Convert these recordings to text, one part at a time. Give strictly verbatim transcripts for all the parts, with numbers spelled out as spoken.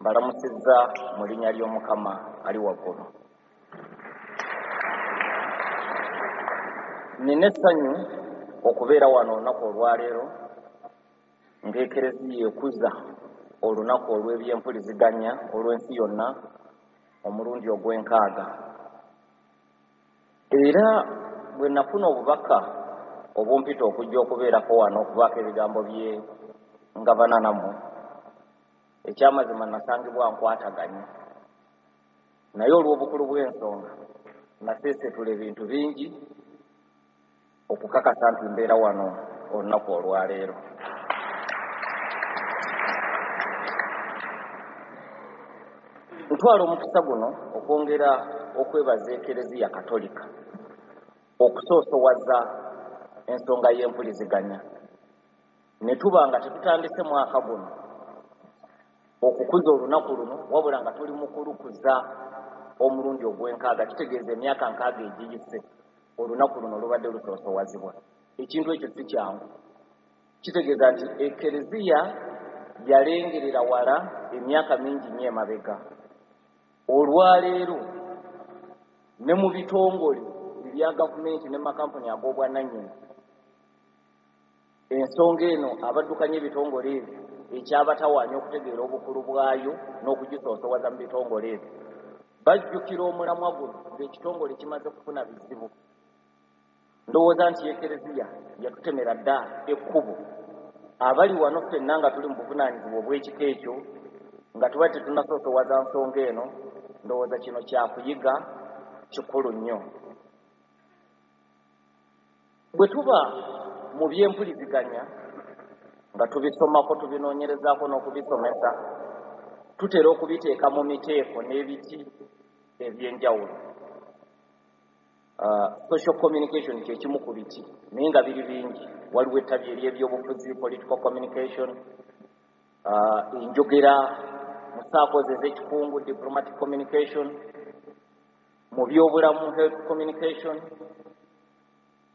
Mbalamusizza mu linnya ly'Omukama ali waggulu. Nina essanyu okubeera wano olunaku olwaleero ng'Ekereziya ekuza olunaku olw'ebyempuliziganya olw'ensi yonna omulundi ogw'enkaaga. Era bwe nafuna obubaka obumpita okujja okubeerako wano okubaako ebigambo bye ngabana nammwe, ekyamazima nasangibwa nkwataganye, naye olw'obukulu bw'ensonga naseesetula ebintu bingi okukakasa nti mbeera wano olunaku olwaleero. Ntwala omukisa guno okwongera okwebaza Ekereziya Katolika okusoosowaza ensonga y'empuliziganya, ne tuba nga tetutandise mwaka guno okukuza olunaku luno, wabula nga tuli mu kulukuza omulundi ogw'enkaaga. Kitegeeza emyaka nkaaga egiyise olunaku luno lubadde lusoosowazibwa. Ekintu ekyo si kyangu. Kitegeeza nti Ekereziya yalengerera wala emyaka mingi nnyo emabega. Olwaleero ne mu bitongole ebya gavumenti ne makampuni ag'obwannannyini, ensonga eno abaddukanya ebitongole ebyo ekyabatawaanya okutegeera obukulu bwayo n'okugisoosowaza mu bitongole ebyo, bajjukira omulamwa guno ng'ekitongole kimaze kufuna bizibu. Ndowooza nti Ekereziya yatutemera dda ekkubo. Abali wano ffenna nga tuli mu buvunaanyizibwa obw'ekika ekyo, nga tuba tetunnasoosowaza nsonga eno, ndowooza kino kyakuyiga kikulu nnyo. Bwe tuba mu byempuliziganya nga tubisomako, tubinoonyerezaako n'okubisomesa, tutera okubiteeka mu miteeko n'ebiti eby'enjawulo. Uh, social communication kyekimu ku biti, naye nga biri bingi. Waliwo ettabi ery'ebyobufuzi, political communication, uh, enjogera mu saakozi ez'ekikungu, diplomatic communication, mu byobulamu, health communication,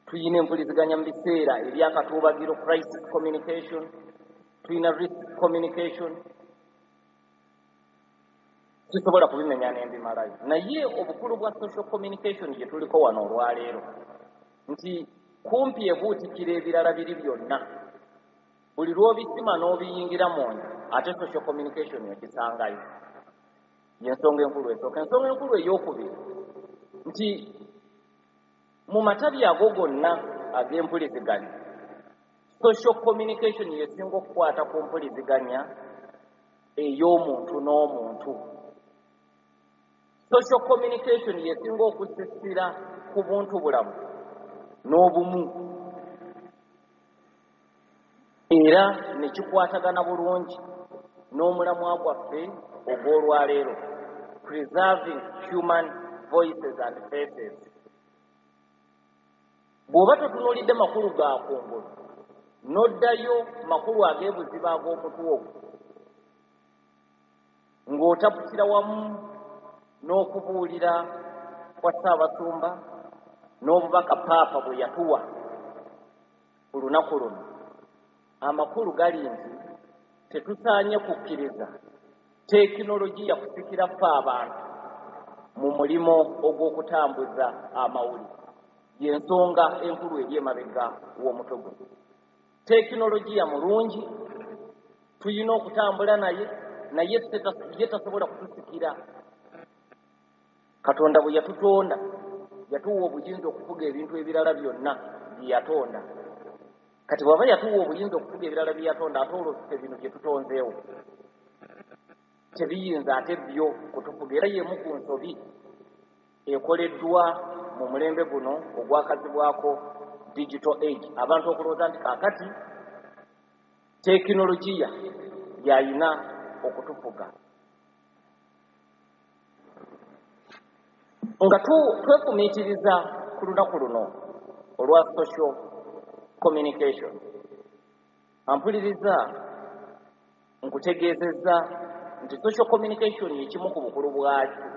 tuyina empuliziganya mu biseera ebyakatuubagiro, crisis communication, tuyina risk communication. Sisobola kubimenya n'embimalayo, naye obukulu bwa social communication gye tuliko wano olwaleero nti kumpi ebuutikira ebirala biri byonna. Buli lw'obisima n'obiyingira munda, ate social communication ogisangayo. Y'ensonga enkulu esooka. Ensonga enkulu ey'okubiri nti mu matabi ago gonna ag'empuliziganya, social communication yesinga okukwata ku mpuliziganya ey'omuntu n'omuntu. Social communication yesinga okusisira ku buntu bulamu n'obumu, era ne kikwatagana bulungi n'omulamwa gwaffe ogw'olwaleero, preserving human voices and faces. Bw'oba totunuulidde makulu ga kungulu, n'oddayo makulu ag'ebuziba ag'omutwe ogwo, ng'otaputira wamu n'okubuulira kwa Ssaabasumba n'obubaka Paapa bwe yatuwa ku lunaku luno, amakulu gali nti tetusaanye kukkiriza tekinologiya kusikira ffe abantu mu mulimo ogw'okutambuza amawulire. Y'ensonga enkulu eri emabega w'omutwe guno. Tekinologiya mulungi, tuyina okutambula naye, naye ye tasobola kutusikira. Katonda bwe yatutonda yatuwa obuyinza okufuga ebintu ebirala byonna bye yatonda. Kati bw'aba yatuwa obuyinza okufuga ebirala bye yatonda, ate olwo ffe bino bye tutonzeewo tebiyinza ate byo kutufuga. Era y'emu ku nsobi ekoleddwa mu mulembe guno ogwakazibwako digital age, abantu okulowooza nti kaakati tekinologiya yayina okutufuga. Nga twefumiitiriza ku lunaku luno olwa social communication, ampuliriza nkutegeezezza nti social communication ekimu ku bukulu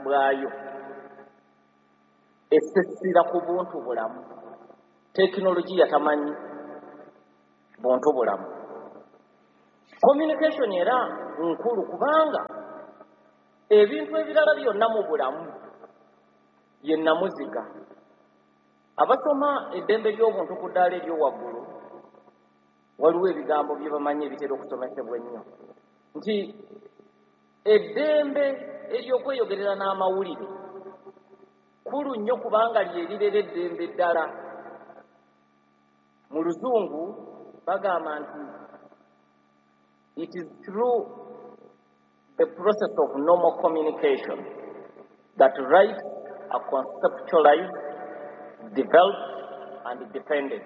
bwayo esessira ku buntu bulamu. Tekinologiya tamanyi buntu bulamu. Communication era nkulu kubanga Ebintu ebirala byonna mu bulamu ye nnamuziga. Abasoma eddembe ly'obuntu ku ddaala ery'owaggulu waliwo ebigambo bye bamanyi ebitera okusomesebwa ennyo nti eddembe ery'okweyogerera n'amawulire kkulu nnyo kubanga lye lirera eddembe eddala. Mu Luzungu bagamba nti it is through the process of normal communication that rights are conceptualized, developed and defended.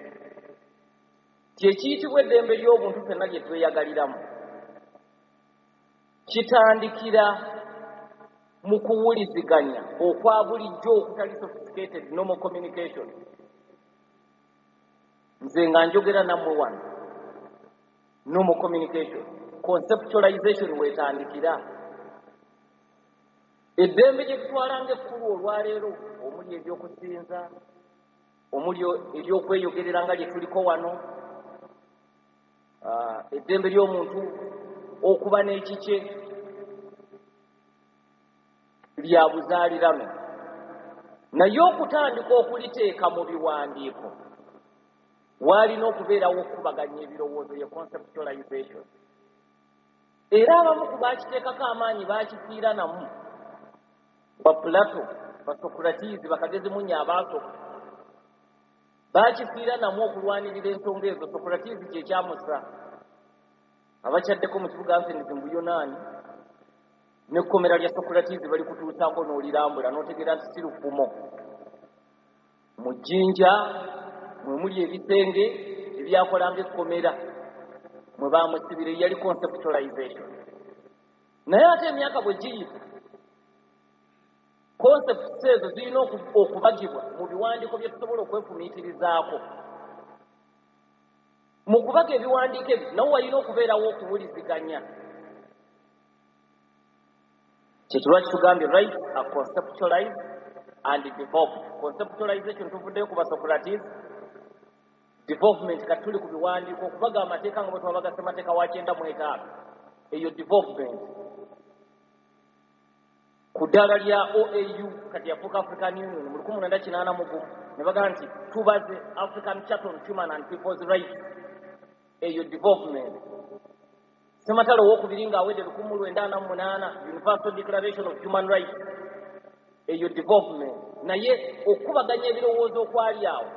Kyekiyitibwa eddembe ly'obuntu ffenna lye tweyagaliramu kitandikira mu kuwuliziganya okwa bulijjo okutali sophisticated normal communication. Nze nga njogera nammwe wano, normal communication, conceptualization weetandikira. Eddembe gye tutwala ng'ekkulu olwaleero omuli ebyokusinza, omuli eryokweyogerera nga lye tuliko wano, eddembe ly'omuntu okuba n'ekikye lya buzaalirano, naye okutandika okuliteeka mu biwandiiko waalina okubeerawo okukubaganya ebirowoozo, ye conceptualization. Era abamu ku baakiteekako amaanyi baakifiira namu, ba Plato, ba Socrates, bakagezimunya abaasooka baakifiira namu okulwanirira ensonga ezo. Socrates kye kyamusa abakyaddeko mu kibuga Athens mu Buyonaani, n'ekkomera lya Socrates bali kutuusaako n'olirambula n'otegeera nti si lufumo. Mu jjinja mwe muli ebisenge ebyakolanga ekkomera mwe baamusibira, yali conceptualization. Naye ate emyaka bwe giyita, concepts ezo zirina okubagibwa mu biwandiiko bye tusobola okwefumiitirizaako. Mu kubaga ebiwandiiko ebyo nawo walina okubeerawo okuwuliziganya. Kyekirwa kitugambye rights are conceptualized and developed. Conceptualization tuvuddeyo ku ba Socrates, development kati tuli ku biwandiiko, okubaga amateeka nga bwe twabaga ssemateeka wa kyenda mu etaano, eyo development. Ku ddaala lya O A U kati yafuuka African Union mu lukumi mwenda kinaana mu gumu ne bagamba nti tubaze African Charter on Human and People's Rights, eyo development. Ssematalo owookubiri ng'awedde lukumi mu lwenda ana mu munaana Universal Declaration of Human Rights, eyo development. Naye okukubaganya ebirowoozo okwali awo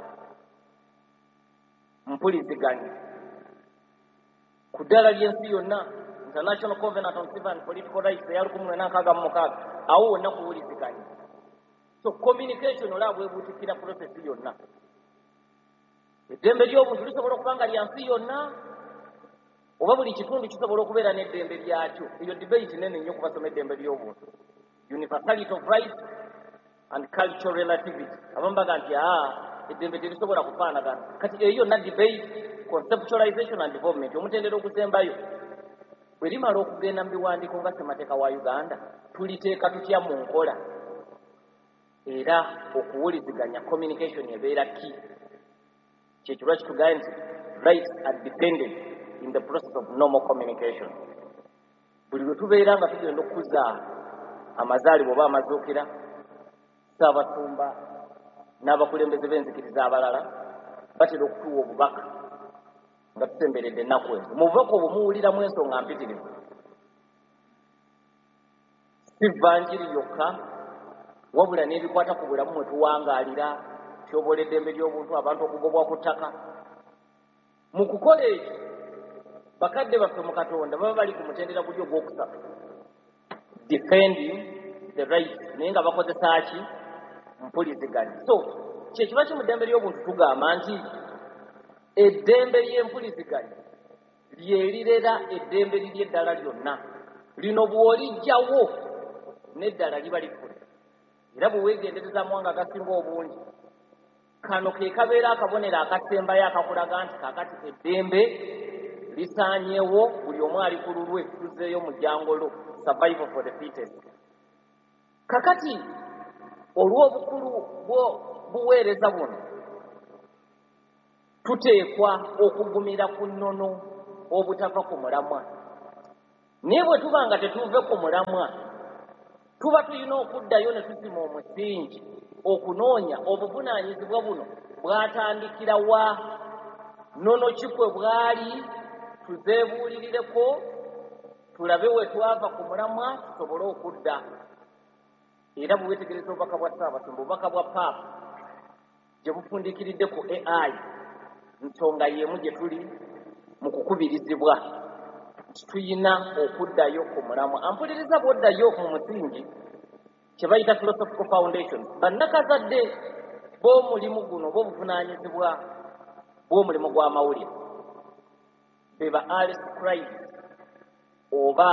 mpuliziganya ku ddaala ly'ensi yonna, International Covenant on Civil and Political Rights eya lukumi mwenda nkaaga mu mukaaga, awo wonna kuwuliziganya. So communication olaba bwebuutikira process yonna. Eddembe ly'obuntu lisobola okuba nga lya nsi yonna oba buli kitundu kisobola okubeera n'eddembe lyakyo. Eyo debate nene nnyo kubasoma eddembe ly'obuntu, universality of rights and cultural relativity. Abamu bagamba nti aa eddembe terisobola kufaanagana. Kati eyo yonna debate, conceptualization and development. Omutendera ogusembayo bwe limala okugenda mu biwandiiko nga ssemateeka wa Uganda, tuliteeka tutya mu nkola? Era okuwuliziganya, communication ebeera key. Kyekirwa kitugambye nti rights are dependent in the process of normal communication. Buli lwe tubeera nga tugenda okukuza amazaalibwa oba amazuukira, Ssaabasumba n'abakulembeze b'enzikiriza abalala batera okutuwa obubaka nga tusemberedde ennaku ezo. Mu bubaka obwo muwuliramu ensonga mpitirivu, si vanjiri yokka wabula n'ebikwata ku bulamu mwe tuwangaalira, kyobola eddembe ly'obuntu, abantu okugobwa ku ttaka. Mu kukola ekyo bakadde baffe mu Katonda baba bali ku mutendera guli ogwokusatu, defending the rights, naye nga bakozesa ki? Mpuliziganya. So kyekiba ki mu ddembe ly'obuntu tugamba nti eddembe ly'empuliziganya lye lirera eddembe liri eddala lyonna. Lino bw'olijjawo n'eddala liba lifuna. Era bwe weegendereza amawanga agasinga obungi, kano ke kabeera akabonero akasembayo akakulaga nti kaakati eddembe lisaanyewo, buli omu ali ku lulwe, tuzzeeyo mu jjangolo, survival for the fittest. Kakati olw'obukulu bw'obuweereza buno tuteekwa okugumira ku nnono obutava ku mulamwa. Naye bwe tuba nga tetuve ku mulamwa, Tuba tulina okuddayo ne tusima omusingi okunoonya obuvunaanyizibwa buno bwatandikira wa, nnono ki kwe bwali, tuzeebuulirireko tulabe we twava ku mulamwa tusobole okudda. Era bwe weetegereza obubaka bwa Ssaabasumba, obubaka bwa Paapa gye bufundikiridde ku A I, nsonga y'emu gye tuli mu kukubirizibwa nti tuyina okuddayo ku mulamwa. Ampuliriza bw'oddayo mu musingi kye bayita philosophical foundations, bannakazadde b'omulimu guno b'obuvunaanyizibwa bw'omulimu gw'amawulire be ba early scribes oba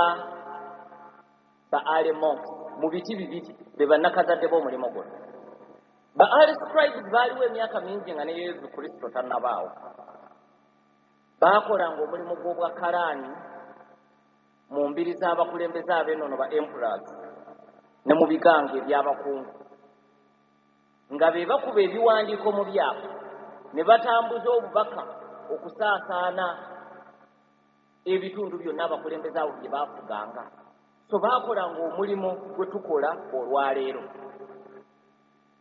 ba early monks. Mu biti bibiri be bannakazadde b'omulimu guno. Ba early scribes baaliwo emyaka mingi nga ne Yesu Kristo tannabaawo. Baakolanga omulimu gw'obwakalaani mu mbiri z'abakulembeze ab'ennono ba emperors ne mu bigango eby'abakungu, nga be bakuba ebiwandiiko mu byapa ne batambuza obubaka okusaasaana ebitundu byonna abakulembeze abo bye baafuganga. So baakolanga omulimu gwe tukola olwaleero.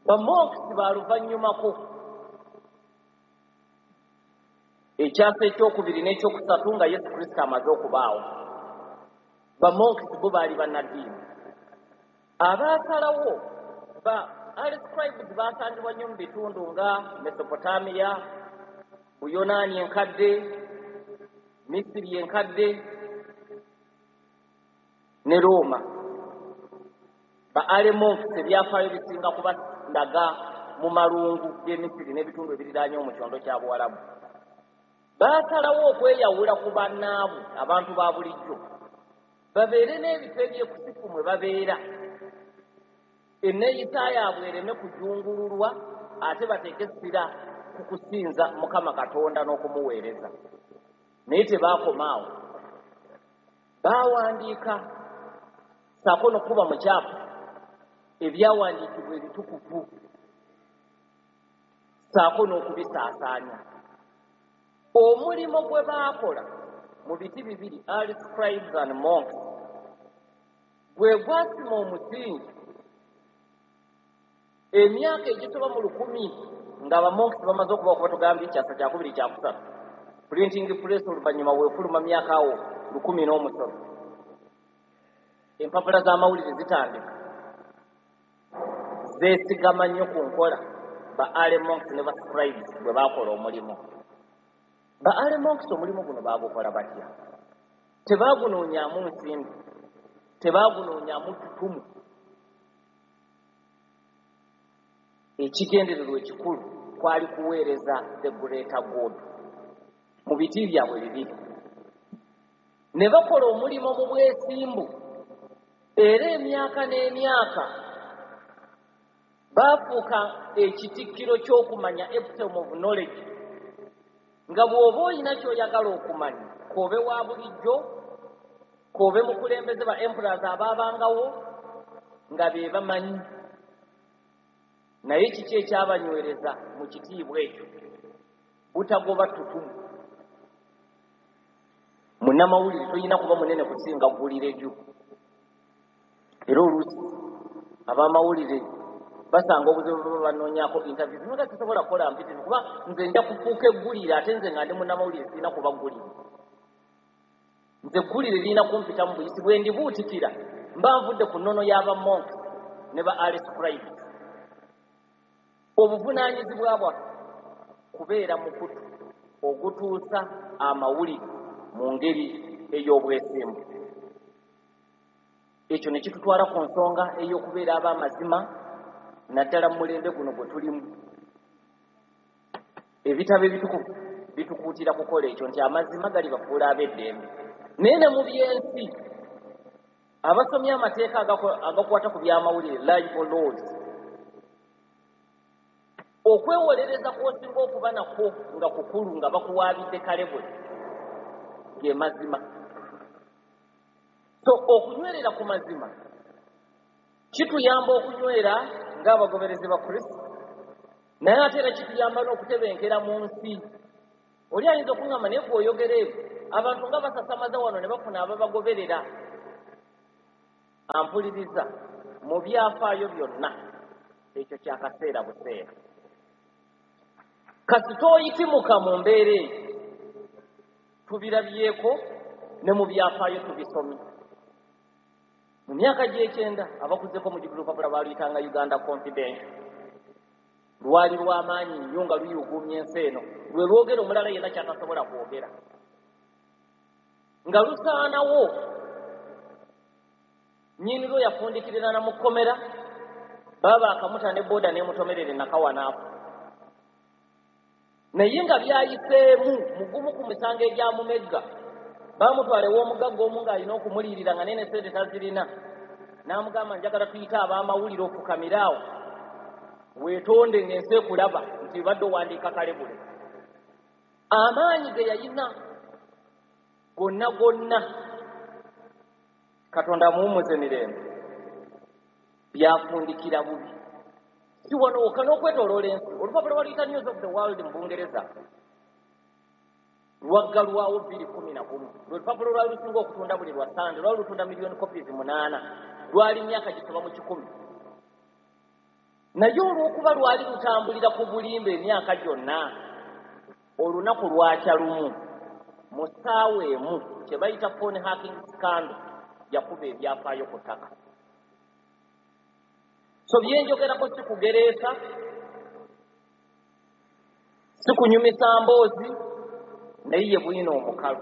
Ba monks baaluvannyumako ekyasa ekyokubiri n'ekyokusatu nga Yesu Kristo amaze okubaawo. Ba monks bo baali bannaddiini abaasalawo. Ba early scribes baasangibwa nnyo mu bitundu nga Mesopotamia, Buyonaani enkadde, Misiri enkadde ne Roma. Ba early monks ebyafaayo bisinga kubandaga mu malungu g'e Misiri n'ebitundu ebiriraanye mu kyondo kya Buwalabu. Baasalawo okweyawula ku bannaabwe abantu ba bulijjo, babeere n'ebifo ebyekusifu mwe babeera, enneeyisa yaabwe ereme kujungululwa, ate bateeke essira ku kusinza Mukama Katonda n'okumuweereza. Naye tebaakoma awo, baawandiika ssaako n'okukuba mu kyapa ebyawandiikibwa ebitukuvu ssaako n'okubisaasaanya. Omulimu gwe baakola mu biti bibiri, early scribes and monks, gwe gwasima omusingi emyaka egisoba mu lukumi nga abamonks bamaze okuba okuba tugambye ekyasa kyakubiri kyakusatu. Printing press oluvannyuma weefuluma myaka awo lukumi n'omusolo, empapula z'amawulire zitandika zeesigama nnyo ku nkola ba early monks ne ba scribes bwe baakola omulimu. Ba early monks omulimu guno baagukola batya? Tebaagunoonyaamu nsimbi, tebaagunoonyaamu ttutumu. Ekigendererwa ekikulu kwali kuweereza the greater good mu biti byabwe bibiri. Ne bakola omulimu mu bwesimbu, era emyaka n'emyaka baafuuka ekitikkiro ky'okumanya, epitome of knowledge, nga bw'oba olina ky'oyagala okumanya, k'obe wa bulijjo, k'obe mukulembeze ba emperors abaabangawo nga be bamanyi. Naye kiki ekyabanywereza mu kitiibwa ekyo? Butagoba ttutumu. Munnamawulire toyina kuba munene kusinga ggulire lyo. Era oluusi abamawulire basanga obuzibu bwe banoonyaako interviews, nga sisobola kukola mpitirivu kuba nze nja kufuuka eggulire, ate nze nga ndi munnamawulire sirina kuba ggulire. Nze eggulire lirina kumpita mu buyisi, bwe ndibuutikira mba nvudde ku nnono y'abamonks ne ba early scribes. Obuvunaanyizibwa bwaffe kubeera mukutu ogutuusa amawulire mu ngeri ey'obwesimbu. Ekyo ne kitutwala ku nsonga ey'okubeera ab'amazima, naddala mu mulembe guno gwe tulimu. Ebitabo ebitukuvu bitukuutira kukola ekyo nti amazima galibafuula ab'eddembe. Naye ne mu by'ensi, abasomye amateeka agakwata ku by'amawulire, libel laws, okwewolereza kw'osinga okuba nakwo nga kukulu nga bakuwaabidde kalebwe ge mazima. So okunywerera ku mazima kituyamba okunywera ng'abagoberezi ba Kristo, naye ate era kituyamba n'okutebenkera mu nsi. Oli ayinza okuŋŋamba naye gw'oyogera ebyo, abantu nga basasamaza wano ne bafuna ababagoberera. Ampuliriza, mu byafaayo byonna ekyo kyakaseera buseera. Kasita oyitimuka mu mbeera eyo, tubirabyeko ne mu byafaayo tubisomye. Mu myaka gy'ekyenda abakuzeko mu lupapula baluyitanga Uganda Confidential, lwali lw'amaanyi nnyo nga luyuuguumya ensi eno, lwe lwogera omulala yenna kyatasobola kwogera, nga lusaanawo. Nnyini lwo yafundikirira na mu kkomera, baaba akamuta ne booda n'emutomerera Nakawa n'afa. Naye nga byayiseemu mugumu ku misango egyamumegga, baamutwala ew'omugagga omu ng'alina okumuliyirira nga nene sente tazirina, n'amugamba njagala tuyite ab'amawulire ofukamire awo weetonde ng'ensi ekulaba nti badde owandiika kalebule. Amaanyi ge yayina gonna gonna, Katonda amuwummuze mirembe, byafundikira bubi. Si wano wokka, n'okwetooloola ensi. Olupapula lwaluyita News of the World mu Bungereza lwaggalwawo bbiri kumi na gumu. Lwe lupapula lwali lusinga okutunda buli lwa Sande, lwali lutunda miliyoni copies munaana, lwali myaka gisoba mu kikumi. Naye olw'okuba lwali lutambulira ku bulimba emyaka gyonna, olunaku lwakya lumu mu ssaawa emu kye bayita phone hacking scandal yakuba ebyafaayo ku ttaka. So byenjogerako si kugereesa, si kunyumisa mboozi, naye ye bwino omukalu.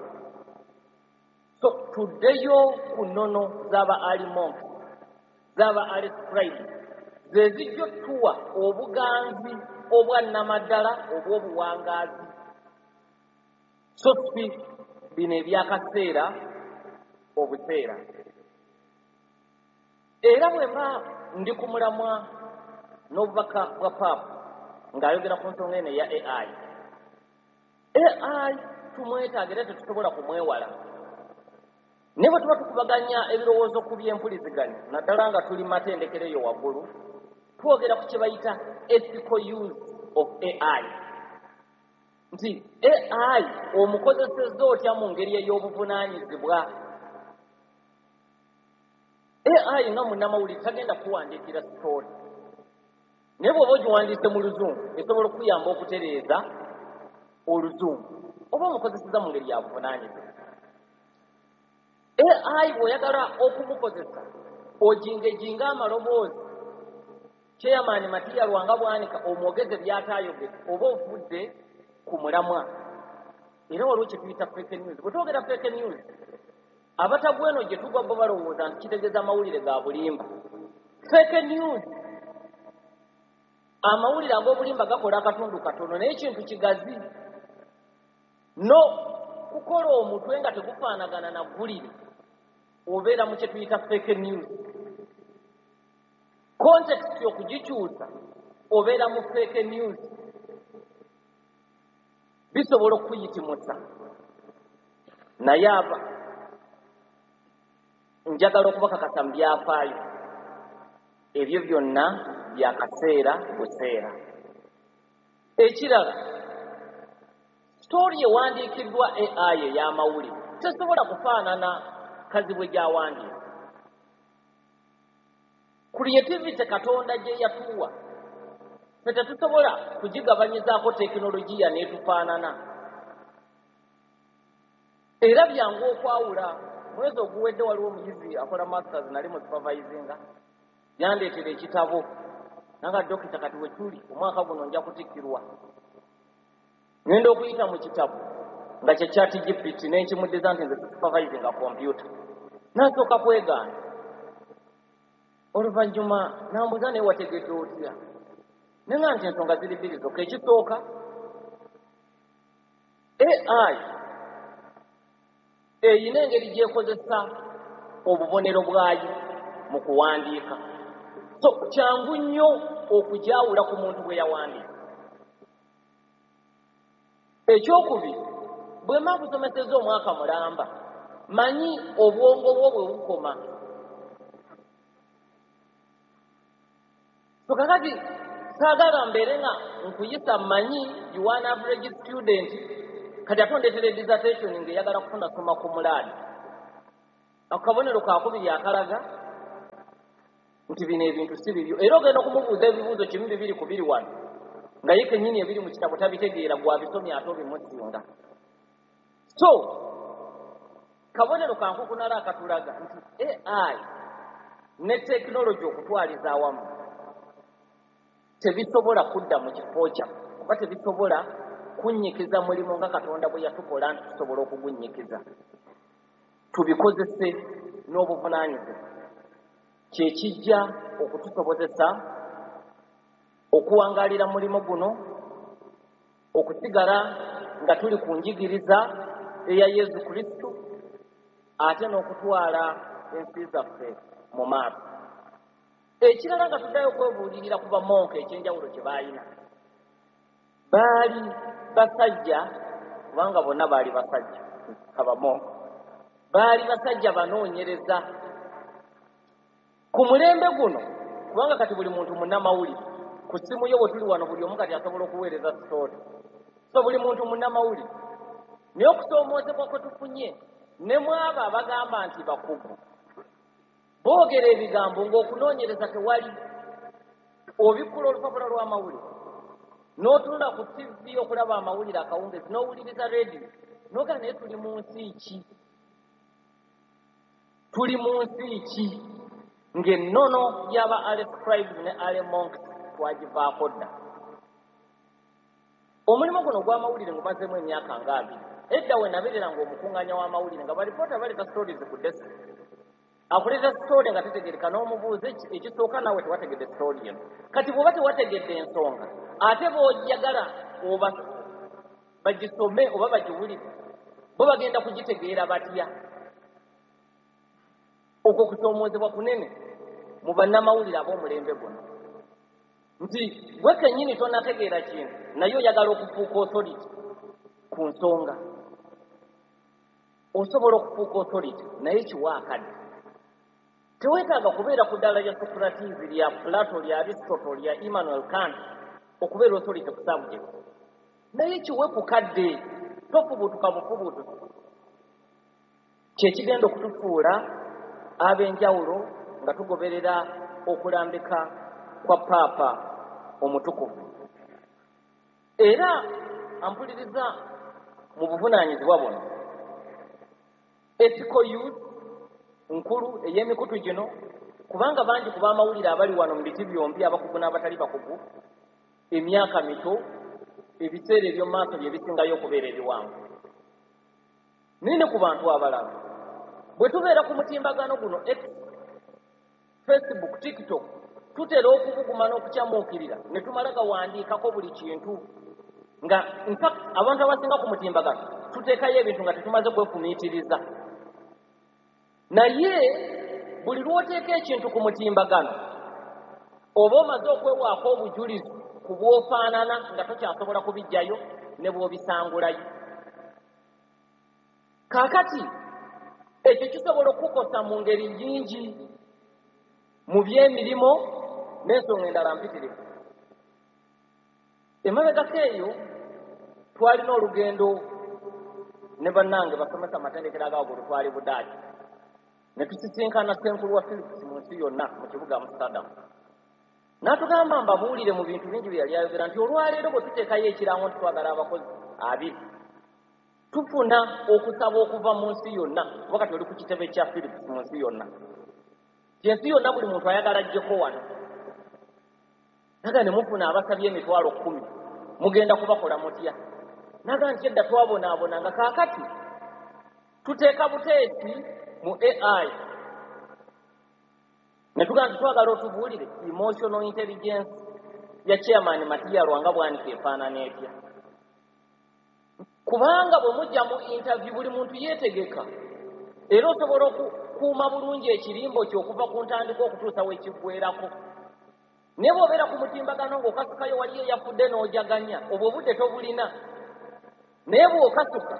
So tuddeyo ku nnono z'aba early monks, z'aba early scribes, ze zijja otuwa obuganzi obwa nnamaddala obw'obuwangaazi, so si bino ebyakaseera obuseera. Era bwe mba ndi ku mulamwa n'obubaka bwa Paapa ng'ayogera ku nsonga eno eya A I, A I tumwetaaga era tetusobola kumwewala. Naye bwe tuba tukubaganya ebirowoozo ku byempuliziganya, naddala nga tuli mu matendekero eyo waggulu, twogera ku kye bayita ethical use of A I, nti A I omukozesezza otya mu ngeri ey'obuvunaanyizibwa. A I nga munnamawulire tagenda kuwandiikira story, naye bw'oba ogiwandiise mu Luzungu esobola okukuyamba okutereeza Oluzungu, oba omukozeseza mu ngeri ya buvunaanyizibwa. A I bw'oyagala okumukozesa ojingejinga amaloboozi, Chairman Matiya Lwanga Bwanika omwogeze by'ataayogedde, oba ovudde ku mulamwa. Era waliwo kye tuyita fake news. Bwe twogera fake news, abatagwa eno gye tugwa bo balowooza nti kitegeeza amawulire ga bulimba. Fake news, amawulire ag'obulimba gakola akatundu katono, naye ekintu kigazi no kukola omutwe nga tegufaanagana na ggulire, obeera mu kye tuyita fake news. Context okugikyusa, obeera mu fake news. Bisobola okukuyitimusa, naye aba njagala okubakakasa mu byafaayo ebyo byonna byakaseera buseera. Ekirala, story ewandiikiddwa A I ey'amawulire tesobola kufaanana kazibwe gy'awandiika. Creativity Katonda gye yatuwa ffe tetusobola kugigabanyizaako tekinologiya n'etufaanana. Era byangu okwawula. Mwezi oguwedde waliwo omuyizi akola masters, nali mu supervisinga, yandeetera ekitabo nanga, "Dokita, kati we tuli omwaka guno nja kutikkirwa, ngenda okuyita mu kitabo nga kye Chat G P T." Nenkimuddiza nti nze supervisinga kompyuta. Nasooka kwegaana, oluvannyuma nambuuza, "Naye wategedde otya?" Nenga nti ensonga ziri bbiri zokka. Ekisooka, A I eyina engeri gy'ekozesa obubonero bwayo mu kuwandiika, so kyangu nnyo okugyawula ku muntu bwe yawandiika. Ekyokubiri, bwe mba nkusomeseza omwaka mulamba, manyi obwongo bwo bwe bukoma. So kakati saagala mbeere nga nkuyisa, mmanyi you one average student, kati ate ondeetera dissertation ng'eyagala kufuna soma ku mulaadi. Akabonero kakubiri akalaga nti bino ebintu si bibyo. Era ogenda okumubuuza ebibuuzo kimu bibiri ku biri wano nga ye kennyini ebiri mu kitabo tabitegeera, gw'abisomye ate obimusinga. So kabonero kankukunala akatulaga nti A I ne tekinologi okutwaliza awamu tebisobola kudda mu kifo kyaffe, oba tebisobola kunnyikiza mulimu nga Katonda bwe yatukola nti tusobola okugunnyikiza. Tubikozese n'obuvunaanyizibwa, kyekijja okutusobozesa okuwangaalira mulimu guno, okusigala nga tuli ku njigiriza eya Yesu Kristo, ate n'okutwala ensi zaffe mu maaso. Ekirala, nga tuddayo okwebuulirira ku bamonka, ekyenjawulo kye baalina, baali basajja, kubanga bonna baali basajja, abamonka baali basajja banoonyereza ku mulembe guno, kubanga kati buli muntu munnamawulire. Ku ssimu yo bwe tuli wano, buli omu kati asobola okuweereza story, so buli muntu munnamawulire. Naye okusoomoozebwa kwe tufunye, ne mwabo abagamba nti bakugu, boogera ebigambo ng'okunoonyereza tewali. Obikkula olupapula lw'amawulire, n'otunula ku T V okulaba amawulire akawungezi, n'owuliriza rediyo, n'ogamba, "Naye tuli mu nsi ki? Tuli mu nsi ki?" Ng'ennono y'aba early scribes ne early monks twagivaako dda. Omulimu guno ogw'amawulire ngumazeemu emyaka nga abiri. Edda we nabeerera ng'omukuŋŋaanya w'amawulire, nga balipoota baleeta stories ku desk, akuleeta story nga tetegereka, n'omubuuza ekisooka, naawe tewategedde story eno. Kati bw'oba tewategedde ensonga, ate bw'ojagala oba bagisome oba bagiwulire, bo bagenda kugitegeera batya? Okwo kusoomoozebwa kunene mu bannamawulire ab'omulembe guno, nti gwe kennyini tonategeera kintu, naye oyagala okufuuka authority ku nsonga. Osobola okufuuka authority, naye kiwa akadde. Teweetaaga kubeera ku ddaala lya Socrates, lya Plato, lya Aristotle, lya Immanuel Kant okubeera authority ku subject, naye kiwe ku kadde, tofubutuka bufubutusi. Kyekigenda okutufuula ab'enjawulo nga tugoberera okulambika kwa Paapa omutukuvu. Era ampuliriza mu buvunaanyizibwa buno, ethical use nkulu ey'emikutu gino, kubanga bangi ku b'amawulire abali wano mu biti byombi, abakugu n'abatali bakugu, emyaka mito, ebiseera eby'omu maaso bye bisingayo okubeera ebiwanvu. Naye ne ku bantu abalala, bwe tubeera ku mutimbagano guno, X, Facebook, TikTok, tutera okubuguma n'okukyamuukirira ne tumala gawandiikako buli kintu, nga infact abantu abasinga ku mutimbagano tuteekayo ebintu nga tetumaze kwefumiitiriza. Naye buli lw'oteeka ekintu ku mutimbagano, oba omaze okwewaako obujulizi ku bw'ofaanana, nga tokyasobola kubijjayo ne bw'obisangulayo. Kaakati ekyo kisobola okukukosa mu ngeri nnyingi mu byemirimu n'ensonga endala mpitirivu. Emabegako eyo twalina olugendo ne bannange basomesa amatendekero agawaggulu, twali Budaaki, ne tusisinkana ssenkulu wa Philips mu nsi yonna mu kibuga Amsterdam. N'atugamba, mbabuulire mu bintu bingi bye yali ayogera, nti olwaleero bwe tuteekayo ekirango nti twagala abakozi abiri, tufuna okusaba okuva mu nsi yonna, kuba kati oli ku kitebe kya Philips mu nsi yonna, kyensi yonna buli muntu ayagala ajjeko wano. Naga ne mufuna abasabye emitwalo kkumi, mugenda kubakola mutya? Naga nti edda twabonaabona, nga kaakati tuteeka buteesi mu A I ne tugamba nti twagala otubuulire emotional intelligence ya Chairman Matiya Lwanga Bwanika efaanana etya, kubanga bwe mujja mu interview buli muntu yeetegeka, era osobola okukuuma bulungi ekirimbo kye okuva ku ntandika okutuusa wekiggwerako. Naye bw'obeera ku mutimbagano ng'okasukayo, waliyo eyafudde n'ojaganya, obwo obudde tobulina. Naye bw'okasuka,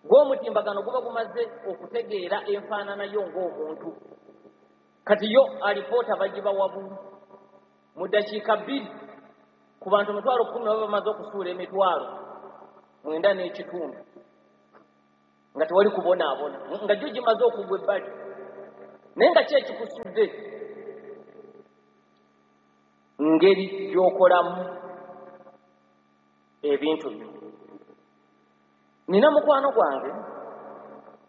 gw'omutimbagano guba gumaze okutegeera enfaanana yo ng'omuntu. Kati yo alipoota bagibawa bubi mu ddakiika bbiri ku bantu emitwalo kkumi, baba bamaze okusuula emitwalo mwenda n'ekitundu, nga tewali kubonaabona, nga gyo gimaze okugwa ebbali. Naye nga ki ekikusudde? Ngeri gy'okolamu ebintu byo. Nina mukwano gwange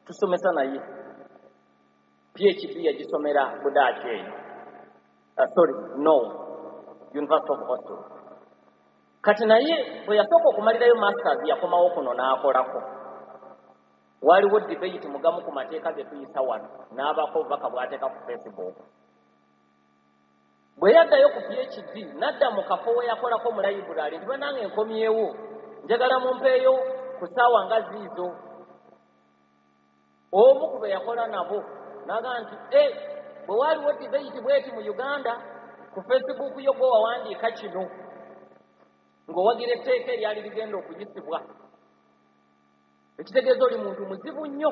tusomesa naye P H D, yagisomera Budaaki eyo, uh, sorry, no, University of Oslo. Kati naye bwe yasooka okumalirayo masters, yakomawo kuno n'akolako. Waliwo debate mugamu ku mateeka ge tuyisa wano, n'abaako obubaka bw'ateeka ku Facebook. Bwe yaddayo ku P H D, n'adda mu kafo we yakolako mu library nti, "Bannange, nkomyewo, njagala mumpeeyo ku ssaawa nga ziizo." Omu ku be yakola nabo n'agamba nti, "E, bwe waaliwo debate bweti mu Uganda, ku Facebook yo gwe wawandiika kino ng'owagira etteeka eryali ligenda okuyisibwa, ekitegeeza oli muntu muzibu nnyo,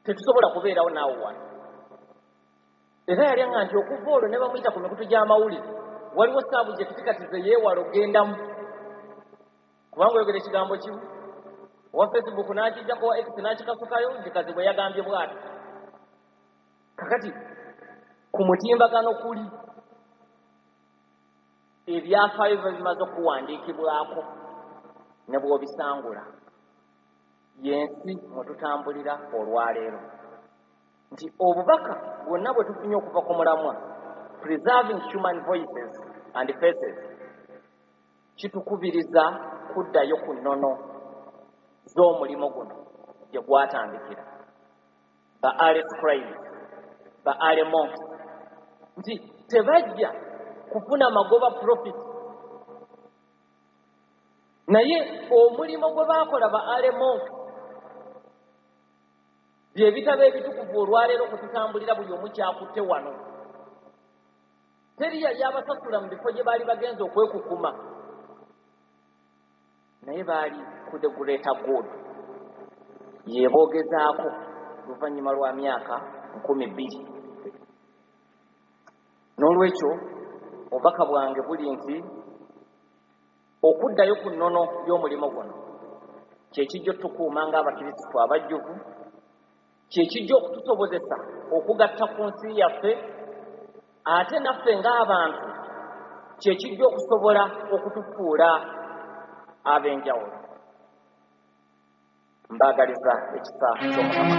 tetusobola kubeerawo naawe wano." Era yali aŋŋa nti okuva olwo ne bamuyita ku mikutu gy'amawulire, waliwo subject kati ze yeewala ogendamu, kubanga oyogera ekigambo kimu, owa Facebook n'akijjako, wa X n'akikasukayo nti Kazibwe yagambye bw'ati. Kakati ku mutimbagano kuli ebyafaayo biba bimaze okuwandiikibwako ne bw'obisangula. Yensi mwe tutambulira olwaleero, nti obubaka bwonna bwe tufunye okuva ku mulamwa "Preserving Human Voices and Faces" kitukubiriza kuddayo ku nnono z'omulimu guno gye gwatandikira, ba early scribes, ba early monks, nti tebajja kufuna magoba, profit, naye omulimu gwe baakola ba early monks bye bitabo ebitukuvu olwaleero kututambulira. Buli omu kyakutte wano, teri yali abasasula mu bifo gye baali bagenza okwekukuma, naye baali ku the greater good. Yeboogezaako luvannyuma lwa myaka nkumi bbiri. N'olwekyo obubaka bwange buli nti okuddayo ku nnono y'omulimu guno kyekijja otukuuma ng'abakirisitu abajjuvu, kyekijja okutusobozesa okugatta ku nsi yaffe, ate naffe ng'abantu kyekijja okusobola okutufuula ab'enjawulo. Mbaagaliza ekisa ky'Omukama.